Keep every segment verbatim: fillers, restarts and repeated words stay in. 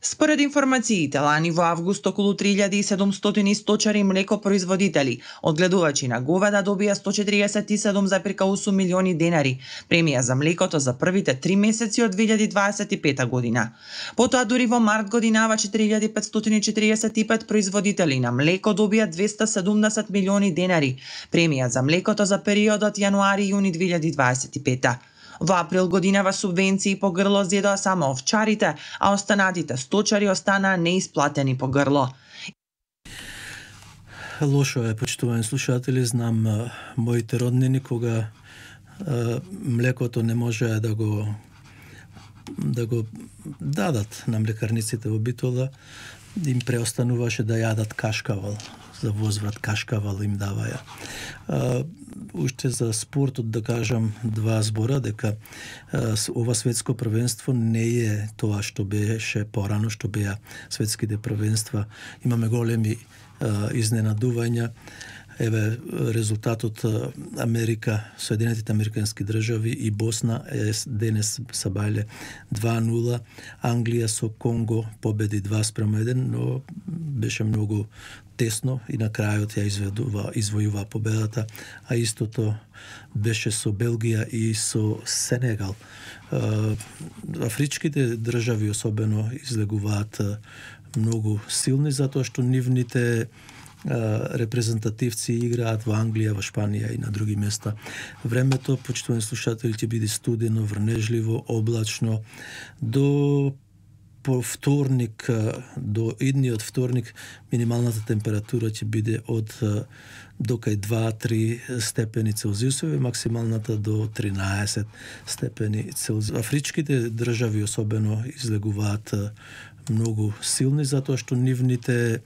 Според информациите, лани во август околу три илјади и седумстотини сточари и млекопроизводители, одгледувачи на говеда добија сто четириесет и седум запирка осум милиони денари премија за млекото за првите три месеци од две илјади дваесет и пета година. Потоа дури во март годинава четири илјади петстотини четириесет и пет производители на млеко добија двесте седумдесет милиони денари премија за млекото за периодот јануари-јуни две илјади дваесет и пета. Во април годинава субвенции по грло зедоа само овчарите, а останатите сточари останаа неисплатени по грло. Лошо е, почитувани слушатели, знам а, моите роднини кога а, млекото не можеа да го да го дадат на млекарниците во Битола, им преостануваше да јадат кашкавал. За возврат кашкавал им даваја. А, уште за спортот да кажам два збора, дека а, ова светско првенство не е тоа што беше порано, што беа светските првенства. Имаме големи а, изненадувања. Еве резултатот Америка, Соединетите Американски држави и Босна е денес са бајле два нула. Англија со Конго победи два спрема еден, но беше многу тесно и на крајот ја изведува, извојува победата, а истото беше со Белгија и со Сенегал. Афричките држави особено излегуваат многу силни затоа што нивните репрезентативци играат во Англија, во Шпанија и на други места. Времето, почитувани слушатели, ќе биде студено, врнежливо, облачно. До по вторник, до идниот вторник, минималната температура ќе биде од до кај два до три степени Целзиусови, максималната до тринаесет степени Целзиусови. Афричките држави особено излегуваат многу силни затоа што нивните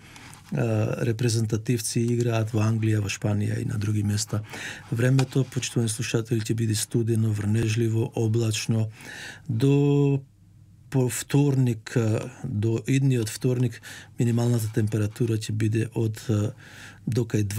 репрезентативци играат во Англија, во Шпанија и на други места. Времето, почитувани слушатели, ќе биде студено, врнежливо, облачно. До по вторник, до идниот вторник, минималната температура ќе биде од до кај